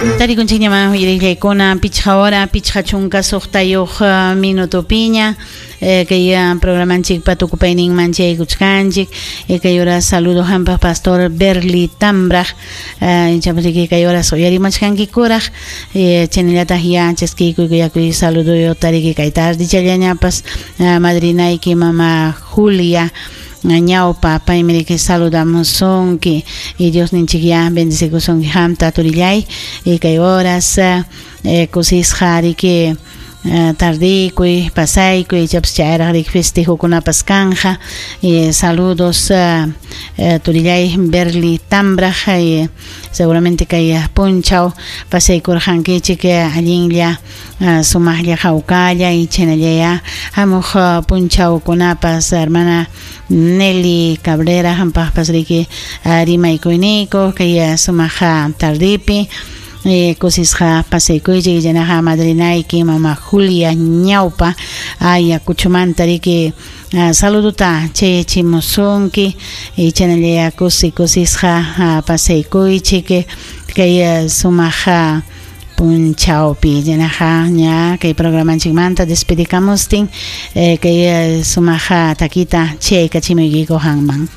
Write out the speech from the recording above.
Tarikunchikñamá uyariqllaykuna pichqa hora 56 minutopiña kay programanchikpa tukupayninman chaykuchkanchik. Kay hora saludo hampaq pastor Berli Tambraq, ichapas kay horas uyarimachkankikuraq, chaynallataq ya chaskiykuy kuyakuy saludo tariki kay tardichallañapas madrinayki mama Julia ñawpa, paymi riki saludamusunki y Dios ninchik ya bendecikusunki hamta turillay y kay horas kusisqa riki tardikuy pasaykuy, ichapas chayraq riki festejokunapas kanja. Saludos turillay Berli Tambraq, seguramente kay punchaw pasaykurqankichik allinlla, sumaqlla, hawkalla y chaynallaya hamuq punchawkunapas. Hermana Nelly Cabrera hampaqpas riki rimaykuyniku kay sumaq tardipi, kusisqa pasaykuychik. Chaynaqa madrinayki mama Julia ñawpa Ayacuchumanta riki saluduta chayachimusunki y chaynallaya kusi kusisqa pasaykuychik kay sumaq punchawpi. Chaynaqa ña kay programanchikmanta despedikamustin kay sumaq takita chaykachimuykiku hanman.